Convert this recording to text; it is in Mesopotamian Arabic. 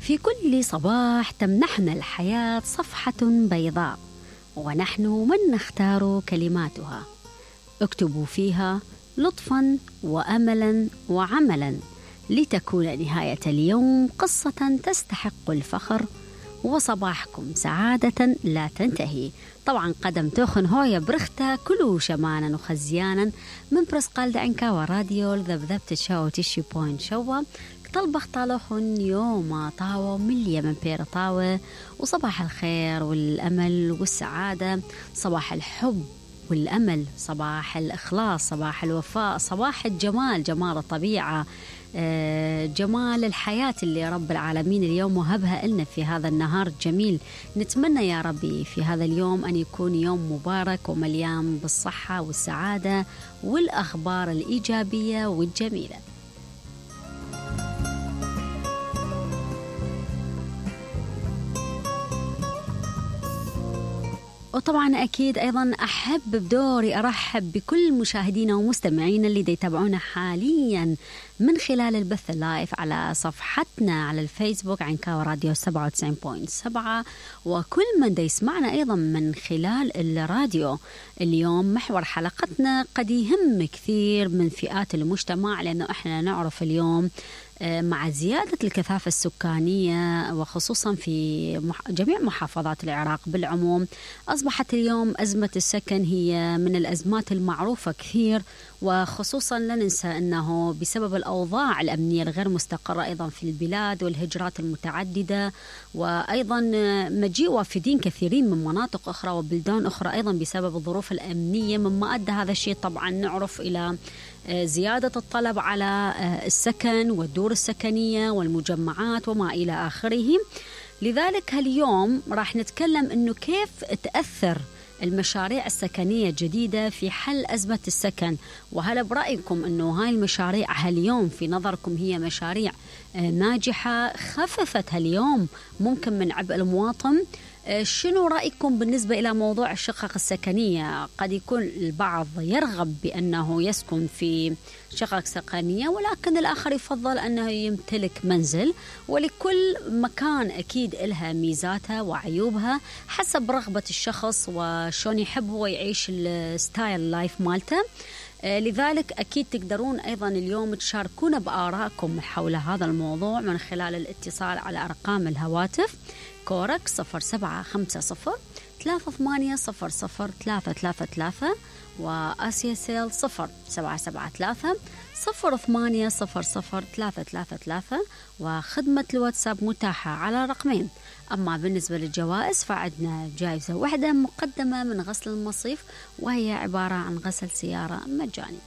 في كل صباح تمنحنا الحياة صفحة بيضاء، ونحن من نختار كلماتها. اكتبوا فيها لطفاً وأملاً وعملاً لتكون نهاية اليوم قصة تستحق الفخر، وصباحكم سعادة لا تنتهي. طبعا قدم توخن هويا برختا كلو شمانا وخزيانا من برسقال عنكا وراديو ذبذبت شاو تشي بوين شوا طلبخ طالوخن يوم طاوة مليا من بير طاوة. وصباح الخير والأمل والسعادة، صباح الحب والأمل، صباح الإخلاص، صباح الوفاء، صباح الجمال، جمال الطبيعة، جمال الحياة اللي رب العالمين اليوم وهبها لنا في هذا النهار الجميل. نتمنى يا ربي في هذا اليوم أن يكون يوم مبارك ومليان بالصحة والسعادة والأخبار الإيجابية والجميلة. وطبعا أكيد أيضا أحب بدوري أرحب بكل مشاهدينا ومستمعينا اللي يتابعونا حاليا من خلال البث اللايف على صفحتنا على الفيسبوك عنكاوي راديو 97.7، وكل من يسمعنا أيضا من خلال الراديو. اليوم محور حلقتنا قد يهم كثير من فئات المجتمع، لأنه إحنا نعرف اليوم مع زيادة الكثافة السكانية وخصوصا في جميع محافظات العراق بالعموم، أصبحت اليوم أزمة السكن هي من الأزمات المعروفة كثير، وخصوصا لا ننسى أنه بسبب الأوضاع الأمنية الغير مستقرة أيضا في البلاد والهجرات المتعددة، وأيضا مجيء وافدين كثيرين من مناطق أخرى وبلدان أخرى أيضا بسبب الظروف الأمنية، مما أدى هذا الشيء طبعا نعرف إلى زيادة الطلب على السكن والدور السكنية والمجمعات وما إلى آخره. لذلك اليوم راح نتكلم إنه كيف تأثر المشاريع السكنية الجديدة في حل أزمة السكن، وهل برأيكم أنه هاي المشاريع هاليوم في نظركم هي مشاريع ناجحة خففت هاليوم ممكن من عبء المواطن؟ شنو رأيكم بالنسبة إلى موضوع الشقق السكنية؟ قد يكون البعض يرغب بأنه يسكن في شقق سكنية، ولكن الآخر يفضل أنه يمتلك منزل، ولكل مكان أكيد إلها ميزاتها وعيوبها حسب رغبة الشخص وشون يحب هو يعيش الستايل لايف مالته. لذلك أكيد تقدرون أيضا اليوم تشاركونا بآرائكم حول هذا الموضوع من خلال الاتصال على أرقام الهواتف كورك 0750-3800-333 وآسيا سيل 0773-0800-333 وخدمة الواتساب متاحة على رقمين. أما بالنسبة للجوائز فعندنا جائزة واحدة مقدمة من غسل المصيف، وهي عبارة عن غسل سيارة مجاني.